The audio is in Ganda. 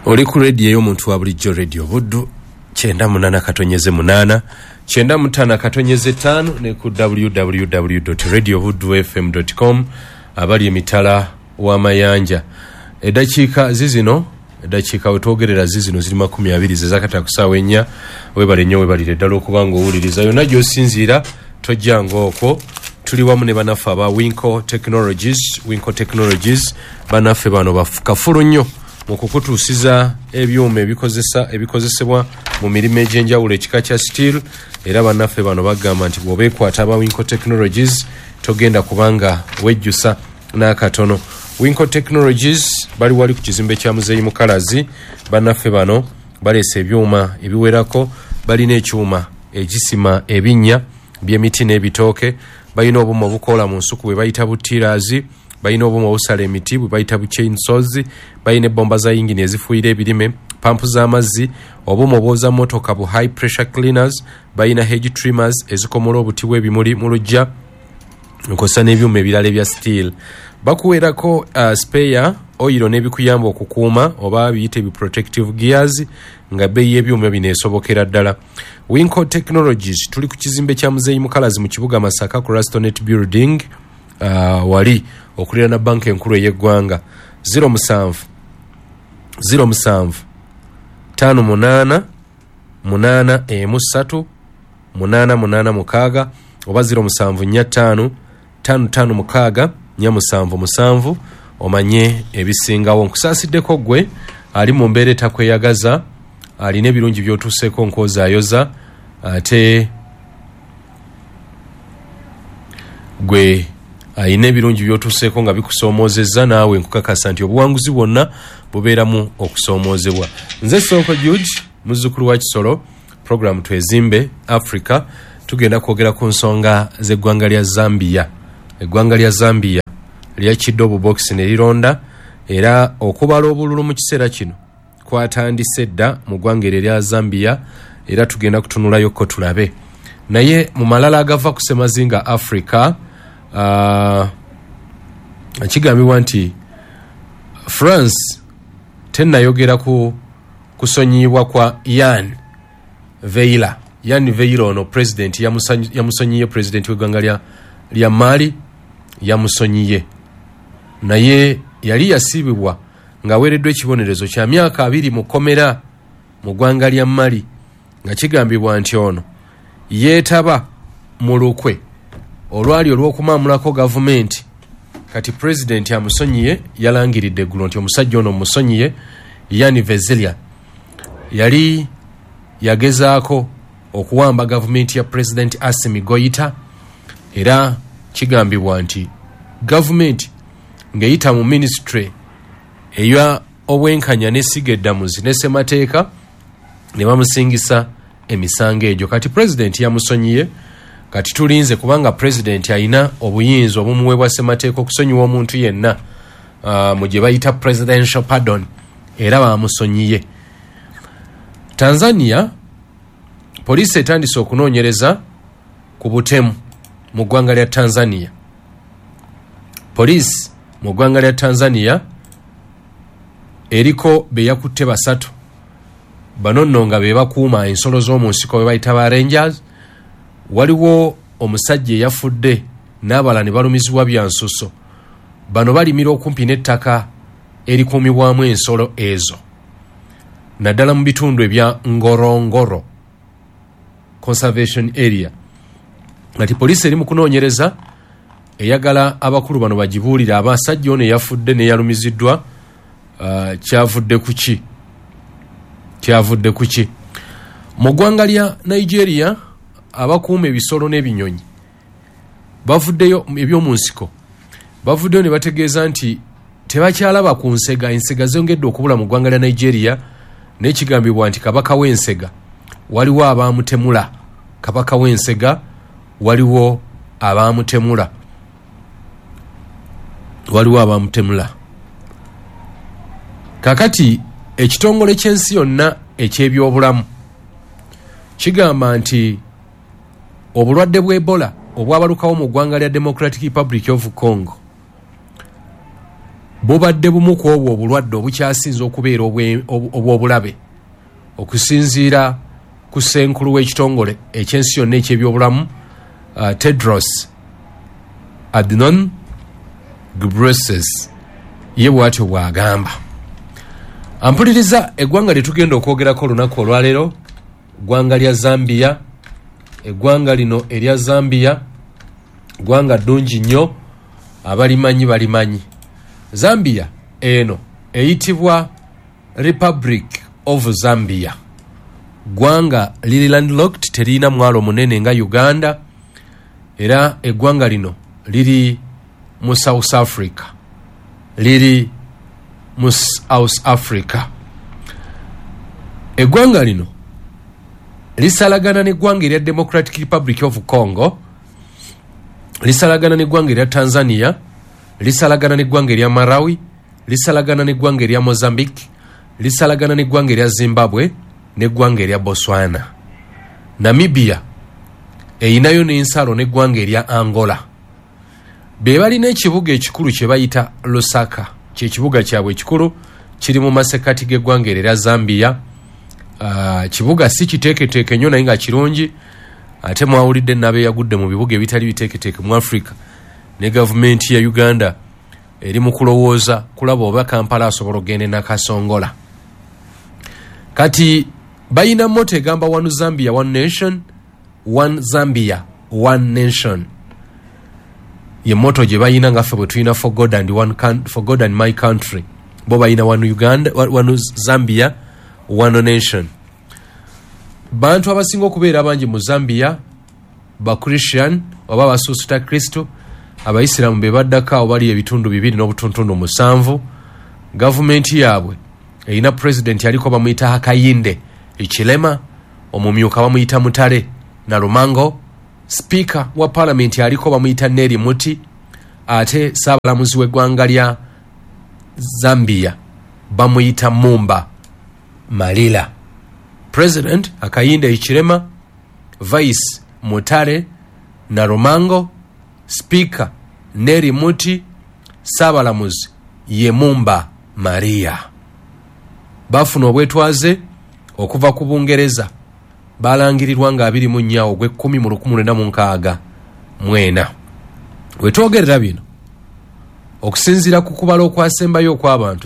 Oli ku rediyo ey'omuntu wa bulijjo, Radio Buddu 98.8, 95.5 ne ku www.radiobuddufm.com abali emitala w'amayanja. Eddakiika zizino, eddakiika wetwogerera zizino ziri 20 zezakata ku ssaawa 4. Webale nnyo, webalire ddala okuba nga owuliriza yonna gy'osinziira, tojjanga okwo. Tuli wamu ne banaffe aba Winco Technologies. Winco Technologies banaffe bano kafulu nnyo mu kukutuusiza ebyuma ebikozesebwa mu mirimu egy'enjawulo ekika kya steel. Era bannaffe bano bagamba nti bw'obeekwata aba Winco Technologies togenda kubanga wejjusa n'akatono. Winco Technologies bali wali ku kizimbe kya Muzeeyi Mukalazi. Bannaffe bano baleese ebyuma ebiwerako, balina ekyuma ekisima ebinnya by'emiti n'ebitooke, balina obuuma obukoola mu nsuku bwe bayita bu tillers, balina obuuma obusala emiti bwe bayita bu chainsaws, balina ebbomba za yingini ezifuuyira ebirime, pampu z'amazzi, obuuma obwoza mmotoka bu high pressure cleaners, balina hedge trimmers ezikomola obuti bw'ebimuli mu luggya, nkosa n'ebyuma ebirala ebya steel. Bakuweerako spare oil n'ebikuyamba okukuuma oba biyite bi protective gears, nga bbeeyi y'ebyuma bino esobokera ddala. Winco Technologies tuli ku kizimbe kya Muzeeyi Mukalazi mu kibuga Masaka ku Rastonet Building, wali okuliraana banka enkulu ey'eggwanga. 07 07 58 8 1 3 8 8 6 oba 07 45 5 5 6 4 7 7 omanye ebisingawo. Nkusaasiddeko ggwe ali mu mbeera etakweyagaza, alina ebirungi by'otuuseeko nkwozaayoza, ate gwe alina ebirungi by'otuuseeko nga bikusoomoozezza, naawe nkukakasa nti obuwanguzi bwonna bubeeramu okusoomoozebwa. Nze Sonko George, muzzukulu wa Kisolo. Program Twezimbe Africa, tugenda kwogera ku nsonga z'eggwanga lya Zambia. Eggwanga lya Zambia lyakidde obubokisi ne lironda, era okubala obululu mu kiseera kino kwatandise dda mu ggwanga eryo erya Zambia, era tugenda kutunulayokko tulabe. Naye mu malala agava ku ssemazinga Africa, kigambibwa nti France tennayogera ku kusonyiyibwa kwa Yann Veila. Yann Veila ono president yamusonyiye, president w'eggwanga lya Mali yamusonyiye, naye yali yasiibibwa ng'aweereddwa ekibonerezo kya myaka 20 mu kkomera mu ggwanga lya Mali, nga kigambibwa nti ono yeetaba mu lukwe olwali olw'okumaamulako gavumenti. Kati pulezidenti amusonyiye, yalangiridde eggulo nti omusajja ono musonyiye. Yann Vezilia yali yagezaako okuwamba gavumenti ya Pulezidenti Assimi Goita, era kigambibwa nti gavumenti ng'eyita mu minisitule eya obwenkanya n'essiga eddamuzi ne ssemateeka ne bamusingisa emisango egyo. Kati pulezidenti yamusonyiye, kati tulinze kubanga pulezidenti alina obuyinza obumuweebwa ssemateeka okusonyiwa omuntu yenna, mu gye bayita presidential pardon, era bamusonyiye. Tanzania, poliisi etandise okunoonyereza ku butemu mu ggwanga lya Tanzania. Poliisi mu ggwanga lya Tanzania eriko be yakutte 3, bano nno nga be bakuuma ensolo z'omu nsiko be bayita ba rangers. Waliwo omusajja eyafudde n'abalala ne balumizibwa bya nsuso. Bano balimira okumpi n'ettaka erikuumibwamu ensolo ezo, naddala mu bitundu ebya Ngorongoro Conservation Area. Kati poliisi eri mu kunoonyereza, eyagala abakulu bano bagibuulire abasajja ono eyafudde n'eyalumiziddwa kyavudde ku ki, kyavudde ku ki. Mu ggwanga lya Nigeria, abakuuma ebisolo n'ebinyonyi bavuddeyo, eby'omu nsiko bavuddeyo ne bategeeza nti tebakyalaba ku nsega. Ensega zongedde okubula mu ggwanga lya Nigeria, naye kigambibwa nti kabaka w'ensega waliwo abaamutemula. Kabaka w'ensega waliwo abaamutemula, waliwo abaamutemula. Kakati ekitongole ky'ensi yonna eky'ebyobulamu kigamba nti obulwadde bwa Ebola obwabalukawo mu ggwanga lya Democratic Republic of Congo Bubadde bumu ku obwo obulwadde obukyasinze okubeera obw'obulabe okusinziira ku ssenkulu w'ekitongole eky'ensi yonna eky'ebyobulamu Tedros Adhanom Ghebreyesus ye bw'atyo bw'agamba. Ampuliriza, eggwanga lye tugenda okwogerako olunaku olwaleero ggwanga lya Zambia. Eggwanga lino erya Zambia ggwanga ddungi nnyo, abalimanyi balimanyi. Zambia eno eyitibwa Republic of Zambia. Ggwanga liri landlocked, teririna mwalo munene nga Uganda, era eggwanga lino liri mu South Africa. Liri mu South Africa. Eggwanga lino lisalagana n'eggwanga erya Democratic Republic of Congo, lisalagana n'eggwanga erya Tanzania, lisalagana n'eggwanga erya Malawi, lisalagana n'eggwanga erya Mozambique, lisalagana n'eggwanga erya Zimbabwe n'eggwanga erya Botswana. Namibia erinayo n'ensalo n'eggwanga erya Angola. Be balina ekibuga ekikulu kye bayita Lusaka, kye kibuga kyabwe ekikulu, kiri mu masekkati g'eggwanga eryo erya Zambia. Kibuga si kiteeketeeke nnyo naye nga kirungi, ate mwawulidde n'abeeyagudde mu bibuga ebitali biteeketeeke mu Africa. Ne gavumenti ya Uganda eri mu kulowooza kulaba oba Kampala asobola okugenda e Nakasongola. Kati balina motto egamba One Zambia One Nation, One Zambia One Nation. Ye motto gye balina nga ffe bwe tulina for God and one for God and my country. Bo balina One Uganda, One Zambia One Nation. Bantu abasinga okubeera abangi mu Zambia ba Christian oba abasuusuta Kristo. Abayisiraamu be baddako awo, bali ebitundu 2.7. Gavumenti yaabwe erina pulezidenti aliko bamuyita Hakainde Hichilema, omumyuka bamuyita Mutale Nalumango, sipiika wa paalamenti aliko bamuyita Nelly Mutti, ate ssaabalamuzi w'eggwanga lya Zambia bamuyita Mumba Malila. President Hakainde Hichilema, Vice Mutale Nalumango, Speaker Nelly Mutti, ssaabalamuzi ye Mumba Maria. Bafuna obwetwaze okuva ku Bungereza, balangirirwa nga 24 ogw'ekkumi mu 1964. Wetwogerera bino, okusinziira ku kubala okwasembayo okw'abantu